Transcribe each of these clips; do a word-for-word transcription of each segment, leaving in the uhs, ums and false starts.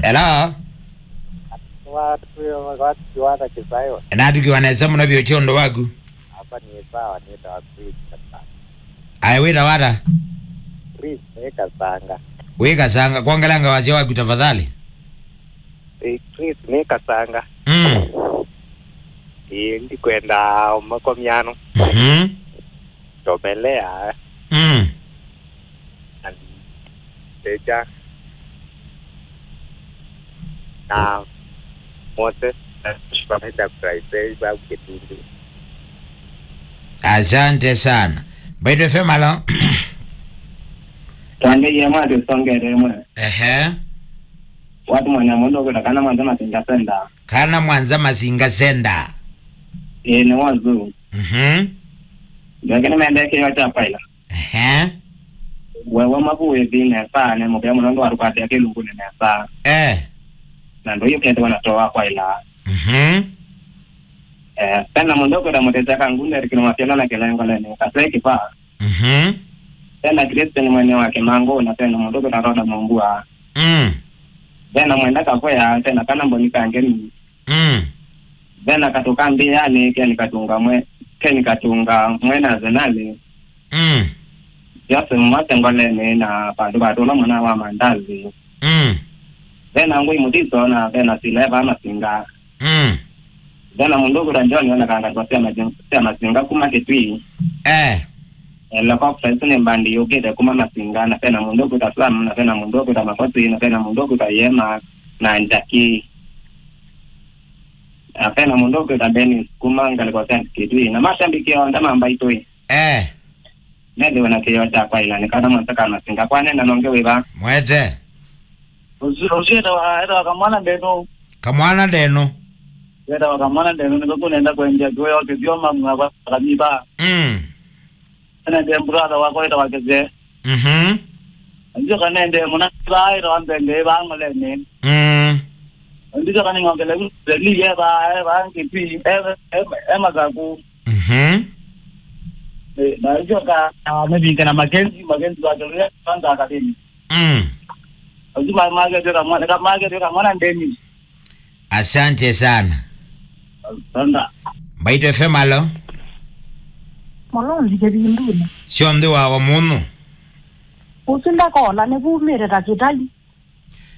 Hello? Watu, watu kiwana kisayo. Natukiwa nesa mũno vyũ, ũtĩ ũndũ waku? Hapa ni sawa, nĩtawa Chris Kasanga. Aĩ, wĩtawa ata? Chris nĩ Kasanga. Wĩ Kasanga, kwongelanga wasya waku tafadhali. Eh, Chris nĩ Kasanga. Mm. Eh, ndikwenda makomiano. Mhm. Tomelea. Mm. And Teja. Na Moses. Na Shipameta Christ. Asante sana. Mbaitũ F M, alo. Twangĩie mwa tũsongere mwe. Ehe. Watu mwana mũndũ kwĩta kana mwanza Masinga Center. Kana mwanza Masinga Center. Ĩĩ, nĩ wazu. Mhm. Ndeke nĩmendekeo kya paila. Ehe. Wewe mavuĩthi nesa, ne mũvea mũno ndwarũkatĩa kĩlungunĩ nesa. Eh. Na ndũyũketĩwa na toa kwaila. Mhm. Eh, kana mũndũ kwĩta mũtesya kangune rikino mafyala na kĩlengoleni, kaseki pa. Mhm. Vena Christian mwene wa Kĩmangũ, na vena mũndũ kwĩta Rhoda Mumbua. Mm. Vena Mwenda Kavoya, vena kana Mboni Kangeni. Mm. Vena Katũ ka Mbĩanĩ, Ken Katunga mwe-, Ken Katunga mwene Arsenal. Mm. Joseph Mwase Ngoleni na vandũ vatũla mwana wa Mandazi. Mm. Vena Ngũi Mũtiso na vena Sileva Masinga. Mm. Vena mũndũ ũkwĩtwa John wonekanga kwa sya Masinga, sya Masinga kuma Kitui. Eh. Helicopter, isu nĩ mbandi yũkĩte kuma Masinga, na vena mũndũ ũkwĩtwa Sam, na vena mũndũ ũkwĩtwa Makosi, na vena mũndũ ũkwĩtwa Yema, na Njaki. Na vena mũndũ ũkwĩtwa Dennis kuma ngalĩko sya Kitui. Na mashabiki onthe ma Mbaitũ. Eh. Nethĩwe na kĩyo kya kwaĩla nĩ kana mwanza ka Masinga. Kwanena nonge wĩva? Mwete. Ũsu, ũsu etawa, etawa Kamwana Ndeno. Kamwana Ndeno. Etawa Kamwana Ndeno, nĩko kũnenda kwendia kĩweo kĩthyo mamwa kwa kanitha. Mm. Ene ndie brother wakwa etawa Kĩsee. Mhm. Ndio kanende mũna ba etawa Mbenge ba Ngoleni. Mm. Ndio kaningongele Zeli eba, eba Ngiti, eba, eba, eba Masaku. Mhm. Eh, na ndio ka, ah, maybe kana Makenzi, Makenzi wa Zeli, kwanza akademi. Mm. Lazima market yoka mwana, ka market yoka mwana ndeni. Asante sana. Asante. Mbaitũ F M, alo. Mũlonzi kĩvindunĩ. Syonthe wa wa mũno. Ũsu ndakola nĩvumĩte ta kĩtai.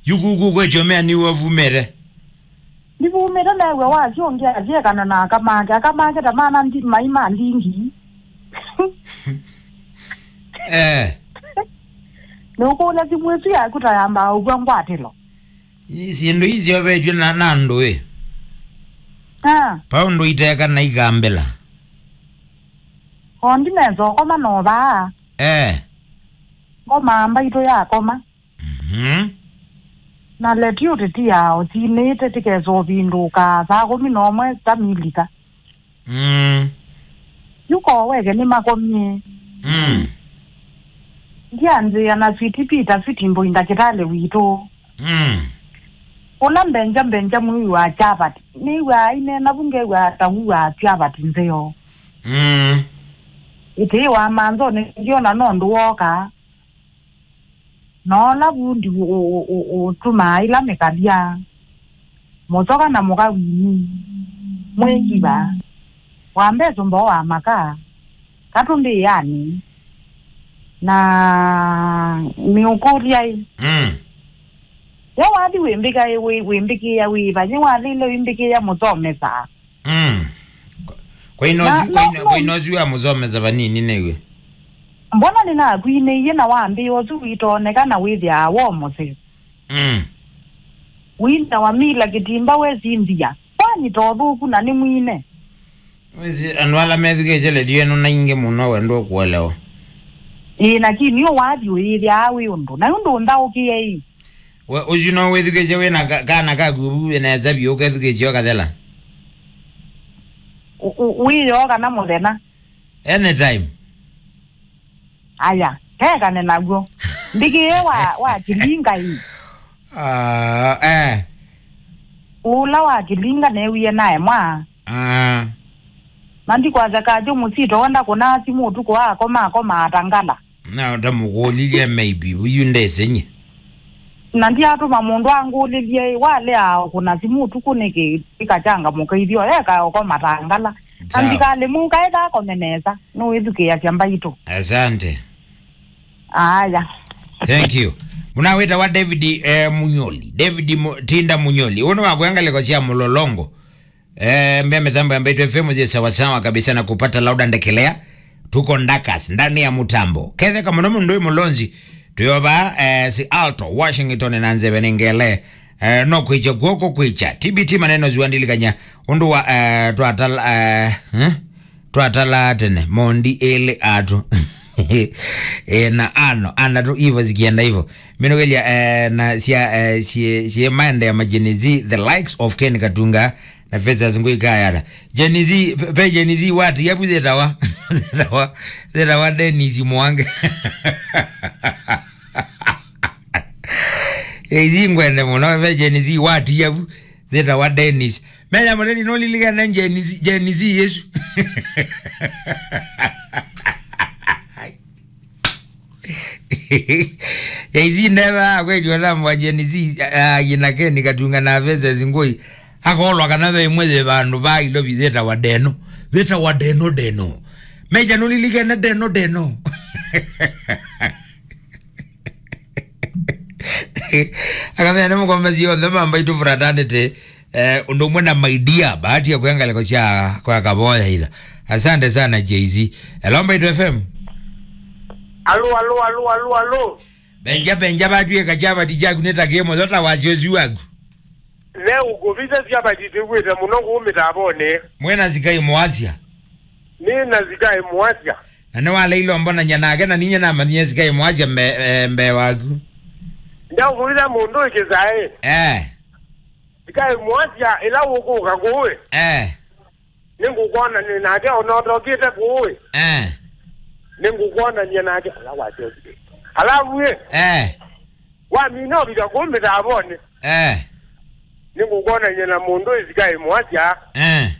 Yukuku kwetyo mea nĩ wavumĩte. Nĩvumĩte new'a wasyo ũngĩ asyekana na aka make. Aka make ta mana ndi-, mai ma ndingi. Eh. Nũkũlya simũ ĩsu yaku ta yambaa ũkw'a ngwatĩlo. Ii syĩndũ ii syovetw'e na, na andũ ĩ. Ah. Paũndũ iteka na ikambĩla. O ndi nesa ũkoma no vaa. Eh. Ngoma Mbaitũ yakoma. Mhm. Na leti ũtĩtiaa ũsinĩte tĩkesa ũvindũka saa kũmi na ũmwe tamilika. Mm. Yu koweke nĩmakomie. Mm. Ndianzĩa na Sweet Peter, Sweet Mboi ndakĩtalĩ witũ. Mm. Ũla Mbenja, Mbenja mwĩwi wa Chavat. Nĩw'aa aineena vu ngew'aa ta w'aa Chavat nzeo. Mm. Ĩtĩĩ wa manzonĩ ndyona nũndũ wooka. Na ũla vundi ũ-, ũ-, ũ-, ũtumaa ĩla mĩkalya, mũsoka na mũka wini, mwĩkiva, wa mbesũ mboo wa maka, katũ mbĩanĩ, na nĩũkũlya ĩ. Mm. Yo wathi wĩmbĩka ĩ, wĩ-, wĩmbĩkĩĩa wĩva? Nĩ wathile wĩmbĩkĩĩa mũsomesa? Mm. Kwa ino na, zu-, kwa ino, no, kwa ino zu ya mũsomesa vanini nĩw'e. Mbona nĩnakwinĩie na wambĩa ũsu witooneka na wĩthĩaa wo mũseo? Mm. Wina wa mila kĩtimba wesindĩa. Kwani to thũku na nĩ mwine? Wĩsĩ andũ ala methukĩĩsye ledio ĩno na ingĩ mũno wendo kũelewa. Ĩĩ, lakini ũ wathi ũyĩthĩaa wĩ ũndũ. Na ũndũ ũnthaũkĩe ĩ. We, ũsu no wĩthukĩĩsye wĩ na ka-, kana kaku vu nesa vyũ ũkethukĩĩsye ũkathela? U-, u-, wĩoo kana mũthenya? Anytime. Aya, kekane naw'o. Ndĩkĩe wa, wa kĩlinga ĩ. Ah, eh. Ũla wa kĩlinga newie naemwa. Ah. Na ndikwasya kajo mũsito wenda kũnaa simũ ũtukũ akoma, akoma atangala. Na ndamũkũlilye maybe, yu ndesenye. Na ndiatũma mũndũ angũlĩlye, walea kũna simũ ũtukũ nĩkĩ? Ikachangamũka ithyoeka oko matangala. Na Sawa. Ndikalĩmwe ũkaeka akome nesa, nũwĩthukĩĩasya mbaitũ. Asante. Aya. Thank you. Mũnawĩtawa David, eh, Munyoli. David Mu-, Tinda Munyoli. Ũnĩ wakwĩa ngalĩko sya Mũlolongo. Eh, mbea mitambo ya Mbaitu F M zi sawasawa kabisa na kupata loud and clear. Tuko ndakas, ndani ya mutambo. Ketheka mũno mũndũ wĩ Mũlonzi. Tuyova, eh, si Alto, Washington na nzeve nĩ ngele. Eh, no kwicha kw'oko kwicha. T B T maneno ziwandilikanya. Ũndũ wa, eh, twatala, eh, eh? Twatala tene, mondi ĩlĩ atũ. Eh, na ano, andatũ ivo zikienda ivo. Minogelia, eh, na sia, eh, sie, sie maende ya majini zi, the likes of Ken Katunga, na Festus Ngui Kayala. Gen Z, pe, pe Gen Z what? Yabu zetawa. Zetawa, zetawa Dennis Mwange. Ezi ngwende mũno, pe Gen Z what? Yabu zetawa Dennis. Menya mũteti nũlilikana Gen Z, Gen Z yesu. Gen Z ndeva kweli ona mwa Gen Z, ah, yina Ken Katunga na Festus Ngui. Akolwa kana ve imwe ye vandu va ilo vitheta wa deno. Theta wa deno deno. Meja nũlilikana deno deno. Akamea nĩ mũkombe sionthe mamba itũ fraternity. Eh, ũndũ ũmwe na my dear, bahati ya kwĩa ngalĩko sya kwa Kavoya ila. Asante sana Jay-Z. Hello, Mbaitu F M. Alo, alo, alo, alo, alo. Benja, benja, batwĩka kyavati kyaku nĩ ta kĩmo, thota wasyo ũsu waku. Ne ũkũvitha syavati twĩw'ĩte mũno kũu mĩtavonĩ. Mwĩna sikai mwasya. Nĩ na sikai mwasya. Na nĩ waleile ũmbonany'a nake, na ninyie namanyie sikai mwasya mbe-, eh, mbee waku. Ndaũkũvitha mũndũ ĩkĩsaĩ. Eh. Sikai mwasya ĩla ũkũka kũĩ. Eh. Nĩngũkwonany'a nake ona ũtokĩte kũĩ. Eh. Nĩngũkwonany'a nake. Ala wasyokie. Alavu ĩ. Eh. Wamina ũvika kũu mĩtavonĩ. Eh. Nĩngũkwonany'a na mũndũ ĩsikai mwasya. Eh.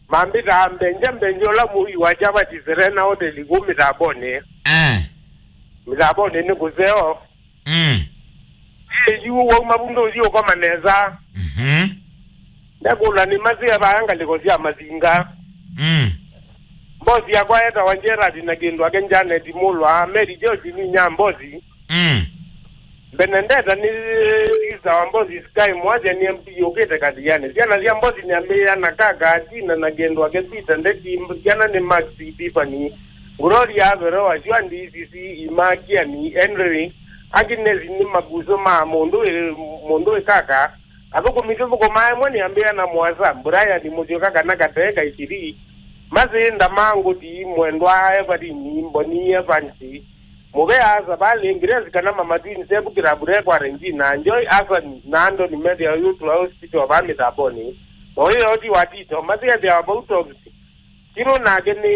Mambĩtaa mbenja mbenja ũla mũi wa kyavati Serena Hotel kũu mĩtavonĩ. Eh. Mĩtavonĩ nĩ kũseo. Mm. Ĩ, yu wauma vu ndũthi ũkoma nesa. Mhm. Ndekũla nĩ masĩa vaa ngalĩko sya masinga. Mm. Mbosi yakwa etawa Gerard na kĩndũ ake Janet Mulwa, Mary George nĩ nya mbosi. Mm. Benedetta nĩ sister wa mbosi Sky Mwasya nĩ M P yũkĩte Kathiani. Syana sya mbosi nĩ Ambĩa na Kaka, Tina na kĩndũ ake Peter Ndeti, syana nĩ Max, Tiffany, Gloria, Veroa, Shwandi, Sisi, Ima, Kiani, Henry, Agnes nĩ makuso ma mũndũ wĩ, mũndũ wĩ Kaka. Athũkũmi tũthũkũmaa ĩmwe nĩ Ambĩa na Mwasa, Brian Mũsyoka kana Katee Kaisiri, Masĩ Ndama, Ngũti, Mwendwa, Evelyn, Mboni, Evansi, Mũvea, Savalĩ, Grace kana Mama Twins, Evu Kĩrambure kwa Regina, Joy, Hassan na Anthony methĩawa yu tũa hospital vaa mĩtambonĩ. Moyo ti wa Tito, Masĩ ethĩawa vau Tops. Kiro nake nĩ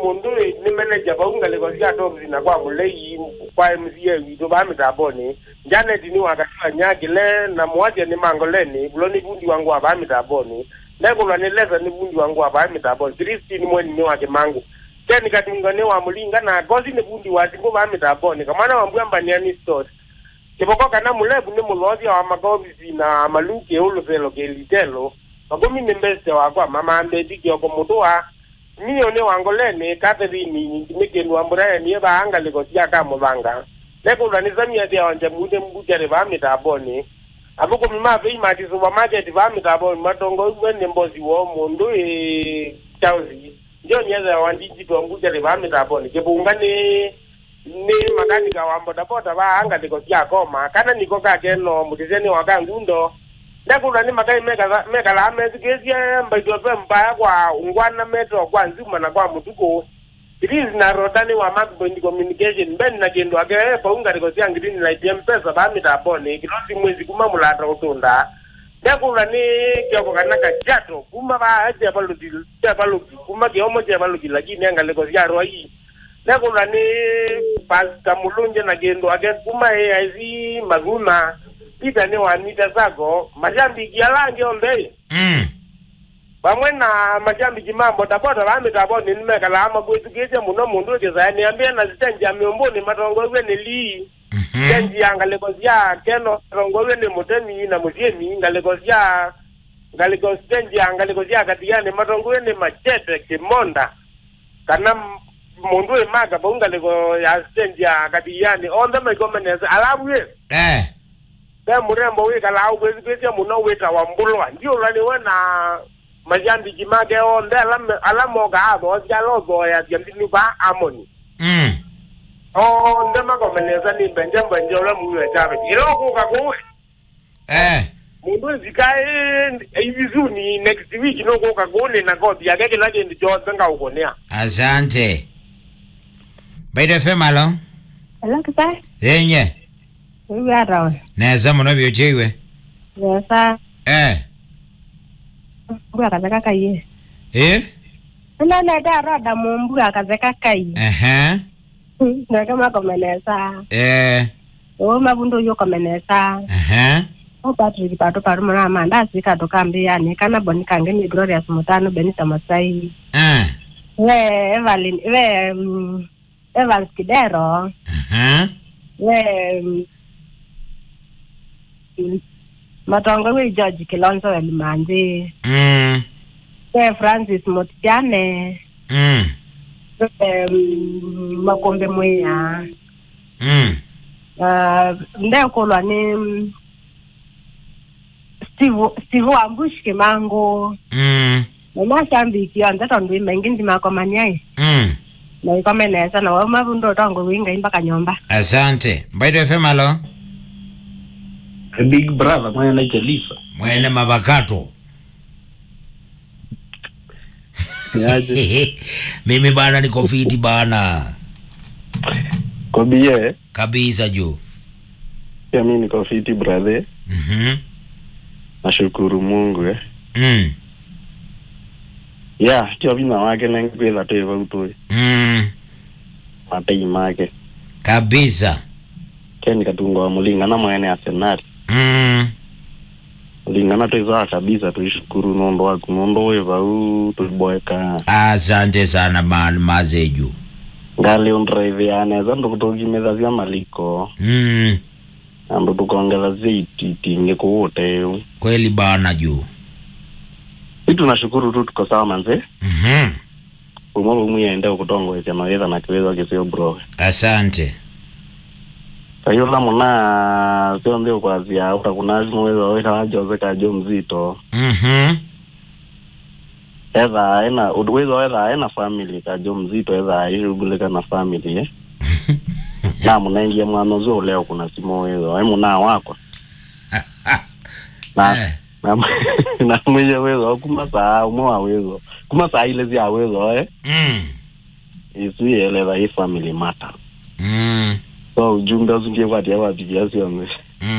mũndũ wĩ, nĩ manager vau ngalĩko sya Tops na kwa Mũlei, kwa M C A witũ vaa mĩtambonĩ. Janet nĩ wa Katiwa Nyakĩle, na Mwasya nĩ Mangoleni, Vulo nĩ vundi wa ngũa vaa mĩtambonĩ. Ndekũlwa nĩ Lesa nĩ vundi wa ngũa vaa mĩtambonĩ. Christine Mweni nĩ wa Kĩmangũ. Ken Katunga nĩ wa Mũlinga, na Kosi nĩ vundi wa simũ vaa mĩtambonĩ. Kamwana wa Mbua Mbaniani Stores. Kĩvoko kana Mũlevu nĩ mũlothya wa makovisi na Maluki Ũlũselo Kelitelo. Makũmi nĩ mbesite wakwa, Mama Mbeti Kioko Mũtũa. Mio nĩ wa Ngoleni, Catherine nĩ kĩndũ wa Brian ye vaa ngalĩko sya Kamũthanga. Nekũlwa nĩ Samia ethĩawa Njamune Mbukyarĩ vaa mĩtambonĩ. Athũkũmi ma Vei Mati Supermarket vaa mĩtambonĩ matongoew'e nĩ mbosi woo mũndũ ĩ Charles. John ethĩawa Digital Mbukyarĩ vaa mĩtambonĩ. Kĩvunga nĩ nĩ makanika wa bodaboda vaa ngalĩko sya Koma, kana nĩko kakeno mũtĩsyanĩ wa Kangundo. Ndekũlwa nĩ makai mekala-, mekalaa methukĩĩsye Mbaitu F M mbaya kwa ngwana meto kwa nzuma na kwa mũtukũ. Prince na Rota nĩ wa Mark Point Communication, Ben na kĩndũ ake e vau ngalĩko sya Green Light M-Pesa vaa mĩtambonĩ, Kĩlosi Mwezi kuma Mũlata Ũtũnda. Ndekũlwa nĩ Kioko kana Kajato kuma vaa Chevaluti, Chevaluti, kuma Kĩomo Chevaluti, lakini e ngalĩko sya Rwai. Nekũlwa nĩ Pastor Mulunje na kĩndũ ake kuma A I C Mathuna, Peter nĩ wa Mita Sacco, mashabiki ala angĩ onthe. Mm. Vamwe na mashabiki ma bodaboda vaa mĩtambonĩ nĩmekalaa makwĩthukĩĩsya mũno mũndũ ĩkĩsae nĩ Ambĩa na sitendi ya Mĩũmbũnĩ matongoew'e nĩ Lee. Mhm. Stage ya ngalĩko sya Keno, matongoew'e nĩ Mũtemi na Mũsyĩmi, ngalĩko sya, ngalĩko, stage ya ngalĩko sya Kathiani, matongoew'e nĩ Machete, Kĩmonda, kana m-, mũndũ wĩ maka vau ngalĩko ya stage ya Kathiani, onthe maikome nesa. Alavu ĩ, Eh. ve mũrembo wĩkalaa ũkwĩsĩkĩsya mũno wĩtawa Mbũlwa. Ndiũlwa nĩwe na mashabiki make onthe ala me-, ala mokaa athoosya ala ũthooeasya mbinu vaa Amoni. Mm. Onthe makome nesa nĩ mbenje mbenje ũla mũiwe Javeti. Ĩla ũkũka kũu, Eh. mũndũ ĩsika ĩ, ĩ, hivi soon, next week nũkũka kũu nĩ na kothi yake, kĩla kĩndũ kyonthe ngaũkũnĩa. Asante. Mbaitu F M, alo? Hello, Kipai. Yenye. Wĩw'a ata we? Nesa mũno vyũ, kyeiwe. Nesa. Eh. Mbua katheka kaiye. Eh? Nĩnonete arada mũmbua katheka kai. Ehe. Nake makome nesa. Eh. Ũũ mavundu ũyũ ũkome nesa. Ehe. Ũ Patrick Patu Paru mũna Amanda asika tũkambĩanĩ kana Boni Kange nĩ Glorious Mũtanu Benita Masai. Eh. We Evelyn, we, mm, Evans Kidero. Aha. We, mm, Matongo wĩ George Kilonzo Welimanzi. Mm. We Francis Motiane. Mm. We, mm, Makombe Mwĩa. Mm. Ah, ndekulwa nĩ, mm, Steve, Steve Ambush Kimangu. Mm. Na mashabiki onthe tondũ ĩ maingĩ ndimakomania ĩ. Mm. Na ikome nesa na wauma vu ndotongwe wĩ Ngai mpaka nyũmba. Asante. Mbaitu F M, alo? Big brother, mwene Jelisa. Mwene mavakato. Niaje? Mimi bana niko fiti bana. Kobie. Kabisa juu. Pia mimi niko fiti, brother. Mhm. Nashukuru Mungu, eh. Mm. Yeah, tio vinya wake nengikwitha twi vau tũĩ. Mm. Matei make. Kabisa. Ken Katungo wa Mulinga na mwene Arsenal. Mm. Lingana twĩsaa kabisa, tũishukuru nũndũ waku, nũndũ wĩ vau tũiboeka. Asante sana man, mazeju. Ngalĩ ũndraiviaa nesa ndũkũtũkimĩthasya maliko. Mm. Na ndũtũkongethasya iti-, itingĩ kũũ ũteũ. Kweli bana juu. Si tunashukuru tu, tuko sawa manze. Mhm. Umwe umwe aende ũkũtongoesya mawĩtha na kĩwĩthwa kĩseo, bro. Asante. Kayũla mũna syonthe ũkwasya ũtakũna simũ wĩthwa wĩkala Jose Kajo Mzito. Mhm. Ethaa ena, wĩthwa ethaa ena family, Kajo Mzito ethaa aishughulika na family, eh. Namũnengie mwana ũsu ũlea ũkũna simũ wĩthwa e mũna wakwa. Na Eh. Na, na mwĩye wĩthwa kuma saa ũmwe wa wĩthwa. Kuma saa ilĩ sya wĩthwa, eh. Mm. Isu yeleva i family matter. Mm. So, ujumbe ũsu ndikwatĩa wapitia syonthe.